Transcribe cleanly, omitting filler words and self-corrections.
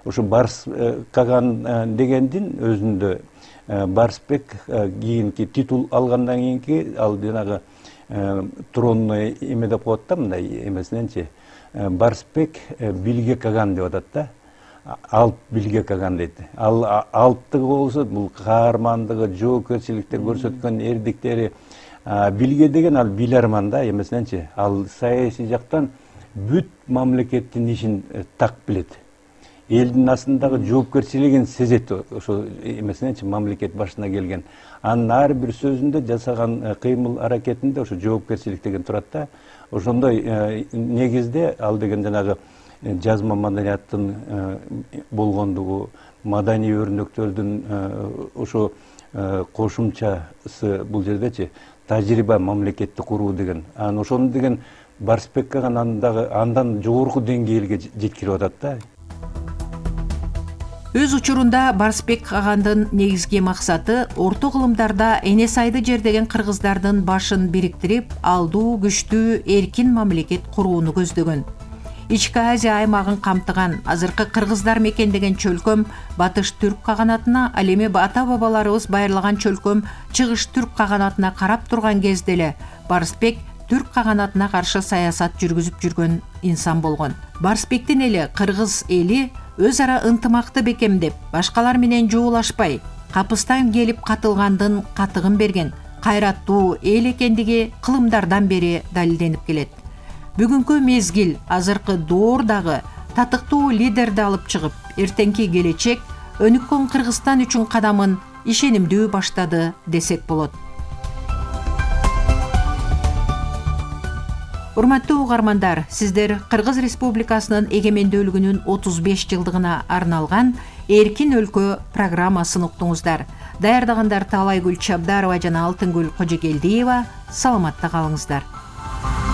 Ошо Барс Каган дегендин өзүндө Барсбек кийинки титул алгандан кийинки ал жанагы тронный эме деп коет да, мындай эмесиненчи Барсбек Билге Каган деп атат да. Алп Билге Каган дейт. Ал алптыгы болсо бул каармандыгы, жоопкерчиликтер көрсөткөн эрдиктери. Билге деген ал биларман да, эмесиненчи ал саясий жактан бүт мамлекеттин ишин так билет. Элдин астындагы жоопкерчилигин сезет ошо эмесиненчи мамлекет башына келген. Анын ар бир сөзүндө жасаган кыймыл аракетинде ошо жоопкерчилик деген турат да. Ошондой негизде ал деген жанагы жазма маданияттын болгондугу, маданий өрнөктөрдүн ошо кошумчасы бул жердечи тажрыйба мамлекетти куруу деген. Анан ошону деген Барсбек Каган андан жогорку деңгээлге жеткирип атат да. Өз учурунда Барсбек Кагандын негизги максаты орто кылымдарда эне сайды жердеген кыргыздардын башын бириктирип, алдуу, күчтүү, эркин мамлекет курууну көздөгөн. Ички Азия аймагын камтыган азыркы кыргыздар мекендеген чөлкөм батыш түрк каганатына, ал эми ата-бабаларыбыз байырлаган чөлкөм чыгыш түрк каганатына карап турган кезде эле Барсбек түрк каганатына каршы саясат жүргүзүп жүргөн инсан болгон. Барсбектин эли кыргыз эли өз ара ынтымакты бекемдеп, башкалар менен жуулашпай, капыстан келип катылгандын катыгын берген, кайраттуу эл экендиги кылымдардан бери далилденип келет. Бүгүнкү мезгил азыркы доордагы татыктуу лидерди алып чыгып, эртеңки келечек өнүккөн Кыргызстан үчүн кадамын ишенимдүү баштады десек болот. Урматтуу угармандар, сиздер Кыргыз Республикасынын эгемендүүлүгүнүн 35 жылдыгына арналган Эркин өлкө программасын уктуңуздар. Даярдагандар Таалайгүл Чабдарова жана Алтынгүл Кожокелдиева. Саламатта калыңыздар.